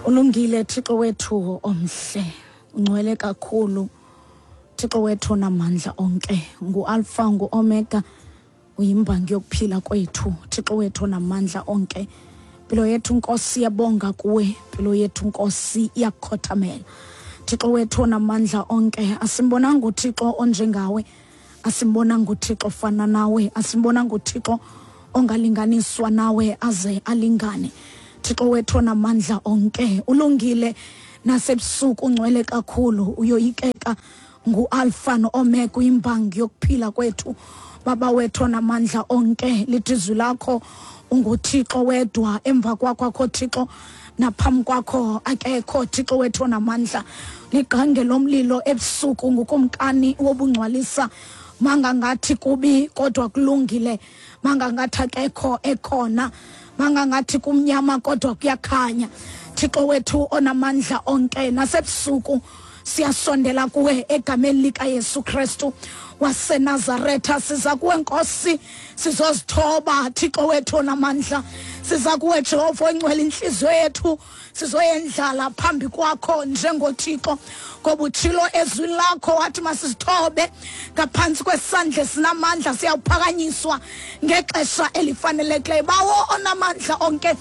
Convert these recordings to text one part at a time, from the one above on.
Ulungile Thixo wethu omhle, ungcwele kakhulu Thixo wethu onamandla onke, nguAlpha nguOmega, uyimbangi yokuphila kwethu Thixo wethu onamandla onke. Impilo yethu Nkosi iyabonga kuwe, impilo yethu Nkosi iyakukhothamela. Thixo wethu onamandla onke, asimbonanga uThixo onjengawe, asimbonanga uThixo ofana nawe, asimbonanga uThixo ongalinganiswa nawe aze alingane. Thixo wethu onamandla onke, ulungile nasebusuku, ungcwele kakhulu, uyoyikeka, nguAlpha noOmega, uyimbangi yokuphila kwethu. Baba wethu onamandla onke, lithi izwi lakho unguThixo wedwa, emva kwakho akho Thixo, naphambi kwakho akekho. Thixo wethu onamandla, ligqange lomlilo ebusuku, ngukumkani wobungcwalisa. Mangangathi kubi kodwa kulungile, mangangathi akekho ekhona, mangangathi kumnyama kodwa kuyakhanya. Thixo wethu onamandla onke, nasebusuku siyasondela kuwe egameni likaYesu Kristu waseNazaretha. Siza kuwe Nkosi, sizozithoba Thixo wethu onamandla, siza kuwe Jehova oyingcwele, inhliziyo yethu sizoyendlala phambi kwakho njengoThixo, ngoba utshilo ezwini lakho wathi masizithobe ngaphantsi kwesandla esinamandla, siyawuphakanyiswa ngexesha elifanelekileyo. Bawo onamandla onke,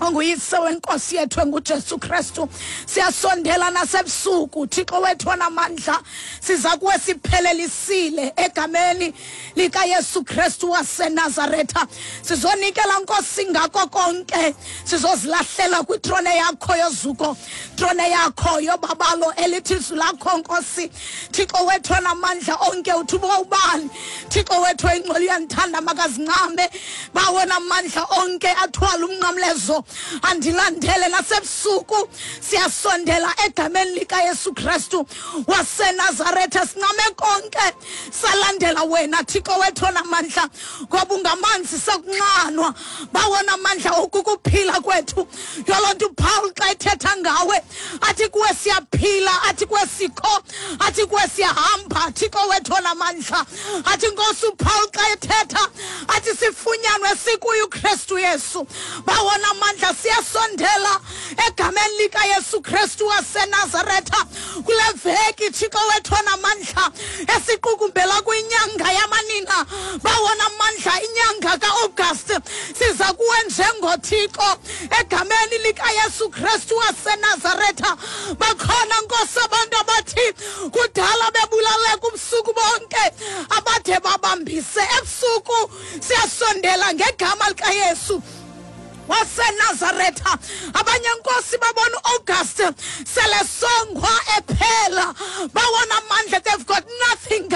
onguyise wenkosi yethu enguJesu Kristu, siyasondela nasebusuku Thixo wethu onamandla, siza kuwe siphelelisile egameni likaYesu Kristu waseNazaretha. Sizonikela Nkosi ngako konke, sizozilahlela kwitrone yakho yozuko, trone yakho yobabalo, elithi izwi lakho Nkosi Thixo wethu onamandla onke, uthi uba ubani Thixo wethu oyingcwele uyandithanda makazincame, bawo namandla onke athwala umnqamlezo andilandele. Nasebusuku siyasondela egameni likaYesu Kristu waseNazaretha, sincame konke salandela wena Thixo wethu onamandla, ngoba ungamanzi sakunxanwa, bawo namandla okukuphila kwethu. Yoloo nto uPaul xa ethetha ngawe athi kuwe siyaphila, athi kuwe sikho, athi kuwe siyahamba, Thixo wethu onamandla. Athi Nkosi uPaul xa ethetha athi sifunyanwe sikuye uKristu Yesu. Bawona amandla, siyasondela egameni likaYesu Kristu waseNazaretha kule veki Thixo wethu onamandla esiqukumbela kwinyanga yamanina, bawona amandla, inyanga ka-August. Siza kuwe njengoThixo egameni likaYesu Kristu waseNazaretha. Bakhona Nkosi abantu abathi kudala bebulaleka ubusuku bonke, abade babambise ebusuku. Siyasondela ngegama likaYesu waseNazaretha. Abanye Nkosi babona uAugust selesongwa ephela, bawona amandla, they've got nothing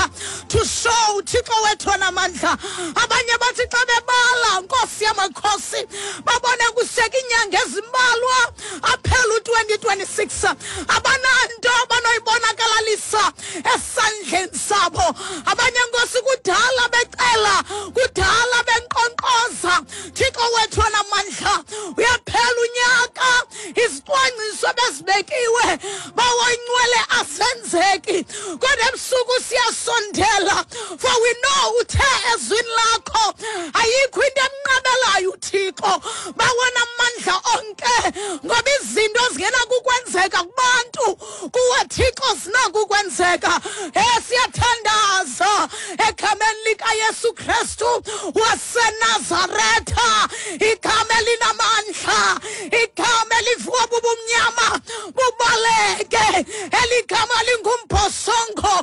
to show Thixo wethu onamandla. Abanye bathi xa bebala Nkosi yamakhosi babone kuseka inyanga ezimbalwa aphela u-2026, abananto abanoyibonakalalisa esandleni sabo. Abanye Nkosi kudala becela, kudala benkqonkqoza, Thixo wethu onamandla, uyaphela unyaka, izicwangciso bezibekiwe bawoyincwele asenzeki. Kodwa ebusuku siyasondela, for we know uthe ezwini lakho ayikho into emnqabelayo uThixo, bawona amandla onke, ngoba izinto zingenakukwenzeka kubantu kuwe Thixo zinakukwenzeka. Siyathandaza egameni likaYesu Kristu waseNazaretha, igama elinamandla, igama elivuka bubumnyama bubaleke, eligama lingumbhosongo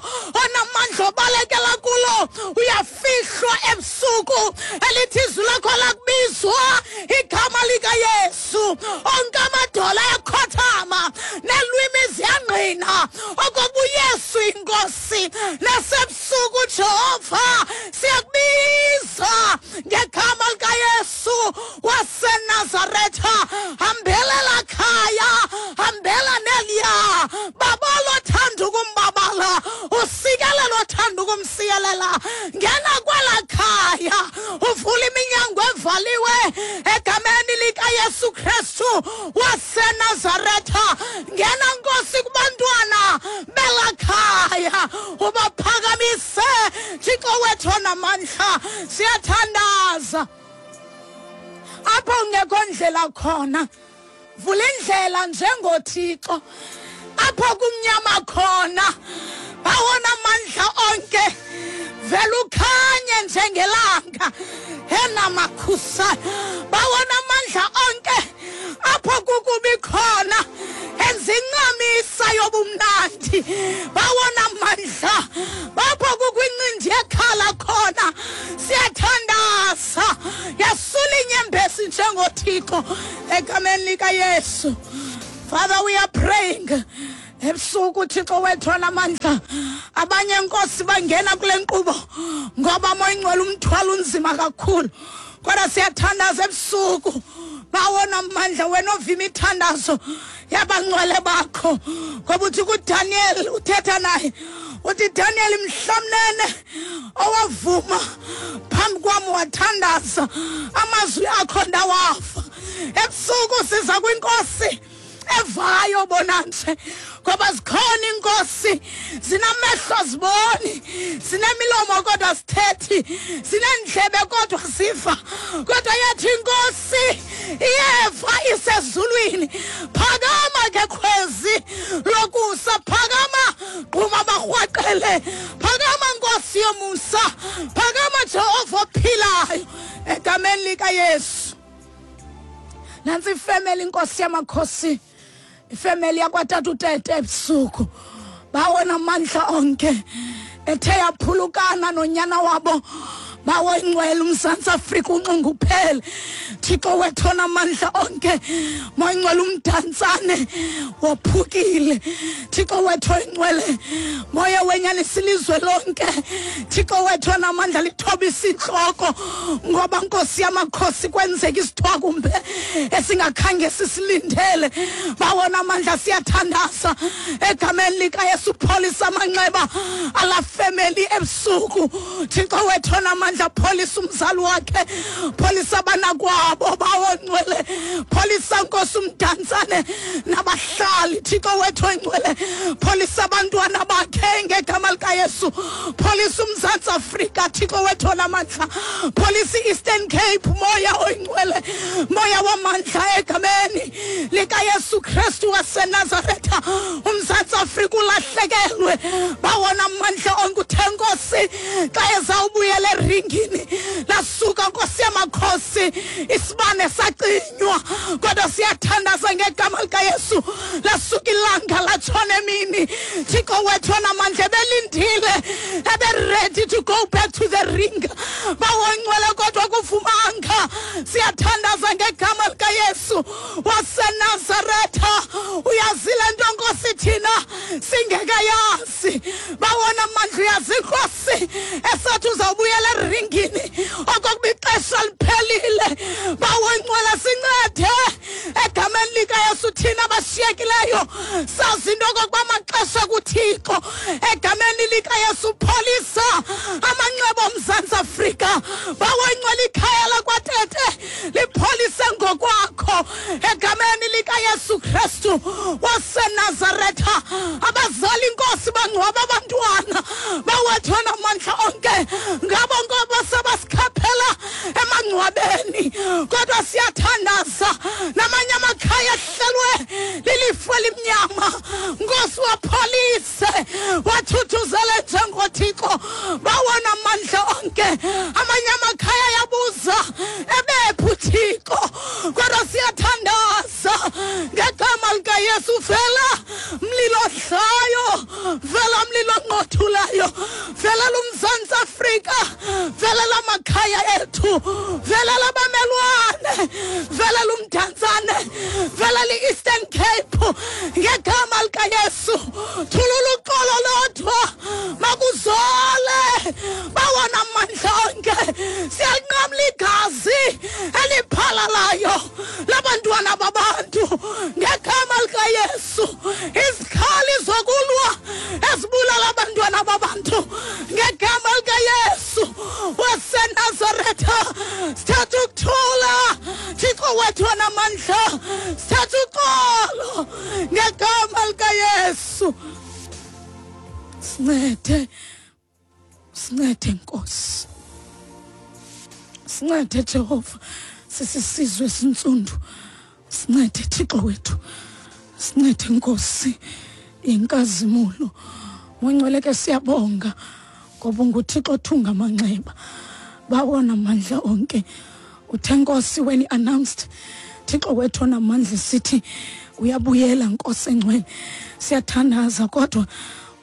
onamandla obalekela kulo uyafihlwa ebusuku, elithi izwi lakho lakubizwa igama likaYesu onke amadola ayakhothama nelwimi ziyangqina okokuba uYesu inkosi. Nasebusuku Jehova siyakubiza ngegama likaYesu waseNazaretha, hambelela khaya, hambela neliya, babalo othanda ukumbabala, usikelelo othanda ukumsikelela, ngena kwela khaya uvula iminyango evaliwe egameni likaYesu Kristu waseNazaretha. Ngena Nkosi kubantwana bela khaya, ubaphakamise Thixo wethu onamandla. Siyathandaza apho ungekho ndlela khona, Vula indlela njengoThixo apho kumnyama khona, bawona amandla onke, vela ukhanye njengelanga enamakhusa. Bawona amandla onke apho kukubi khona, enza incamisa yobumnandi. Bawona amandla bapho kukwincindi ekhala khona. Siyathandaza, yasula inyembezi njengoThixo egameni likaYesu. Father, we are praying ebusuku, Thixo wethu onamandla. Abanye, Nkosi, bangena kule nkqubo ngoba, Moya Ingcwele, umthwalo unzima kakhulu, kodwa siyathandaza ebusuku, bawona amandla, wena ovima imithandazo yabangcwele bakho, ngoba uthi kuDaniel, uthetha naye uthi, "Daniel, mhlamnene owavuma phambi kwam wathandaza, amazwi akho ndawafa." Ebusuku siza kwinkosi evayo bona nje, ngoba zikhona inkosi zinamehlo ziboni, zinemilomo kodwa sithethi, zinendlebe kodwa siva, kodwa yathi inkosi iyeva isezulwini. Phakama ke khwezi lokusa, phakama gquma barhwaqele, phakama Nkosi yomusa, phakama Jehova ophilayo, egameni likaYesu. Nantsi ifemeli, inkosi yamakhosi, ifemeli yakwatata uTete. Ebusuku, bawona amandla onke, ethe yaphulukana nonyana wabo, bawo ingcwele, uMzantsi Afrika unxunguphele. Thixo wethu onamandla onke, Moya Ingcwele, uMdantsane wophukile. Thixo wethu oyingcwele, Moya wenyanisa, ilizwe lonke, Thixo wethu onamandla, lithobisa intloko, ngoba, Nkosi yamakhosi, kwenzeka isithwakumbe esingakhange sisilindele. Bawona amandla, siyathandaza egameni likaYesu, pholisa amanxeba ala femeli ebusuku. Thixo wethu onamandla, pholisa umzali wakhe, pholisa abanakwabo, bawongcwele, pholisa, Nkosi, uMdantsane nabahlali. Thixo wethu oyingcwele, pholisa abantwana bakhe ngegama likaYesu. Pholisa uMzantsi Afrika, Thixo wethu onamandla, pholisa i-Eastern Cape. Moya oyingcwele, moya wamandla, egameni likaYesu Kristu waseNazaretha, uMzantsi Afrika ulahlekelwe. Bawona amandla onke, uthe, Nkosi, xa ezawubuyela eringini, lasuka, Nkosi yamakhosi, isibane sacinywa, kodwa siyathandaza ngegama likaYesu, lasuka ilanga latshona emini. Thixo wethu onamandla, ebelindile, ebe-ready to go back to the ring, bawongcwele, kodwa kuvumanga. Siyathandaza ngegama likaYesu waseNazaretha. Uyazile nto, Nkosi, thina singekayazi. Bawona amandla, uyazi, Nkosi, esathi uzawubuyela eringini okokuba ixesha liphelile. Bawongcwele, sincede egameni likaYesu, thina bashiyekileyo sazi into okokuba amaxesha kuThixo. Egameni likaYesu, pholisa amanxeba oMzantsi Afrika. Bawongcwele, ikhaya lakwaTete lipholise ngokwakho egameni likaYesu Kristu waseNazaretha. Abazali, Inkosi, bangcwaba abantwana bawethu namandla onke, ngabo ngoba sebasikhaphela emangcwabeni, kodwa siyathandaza, namanye amakhaya ehlelwe lilifu elimnyama, Nkosi, wapholise, wathuthuzele njengoThixo, bawona amandla onke. Amanye amakhaya yabuza, ebephi uThixo? Kodwa siyathandaza ngegama likaYesu, vela mlilo odlayo, vela mlilo onqothulayo, velela uMzantsi Afrika, velela amakhaya ethu, velela abamelwane, velela uMdantsane, velela i-Eastern Cape ngegama likaYesu. Thulula uxolo lodwa, makuzole, bawona amandla onke. Siyalinqamla igazi eliphalalayo labantwana babantu ngegama likaYesu, izikhali zokulwa ezibulala abantwana babantu ngegama likaYesu waseNazaretha. Sithatha ukuthula, Thixo wethu onamandla, sithatha uxolo ngegama likaYesu. Sincede, sincede Nkosi, sincede Jehova. Sisisizwe sintsundu. Sincede Thixo wethu, sincede Nkosi yenkazimulo. Ngcwele ke siyabonga ngoba unguThixo othunga amanxeba, bawona amandla onke. Uthe Nkosi when he announced, Thixo wethu onamandla, sithi uyabuyela Nkosi engcwele. Siyathandaza kodwa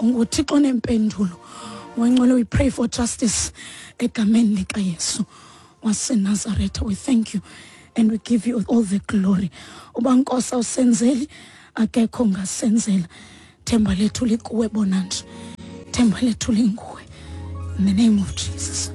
unguThixo onempendulo. Ngcwele, we pray for justice egameni likaYesu waseNazaretha. We thank you and we give you all the glory. Uba Nkosi awusenzeli, akekho ongasenzela. Themba lethu likuwe bona nje, themba lethu linguwe. In the name of Jesus.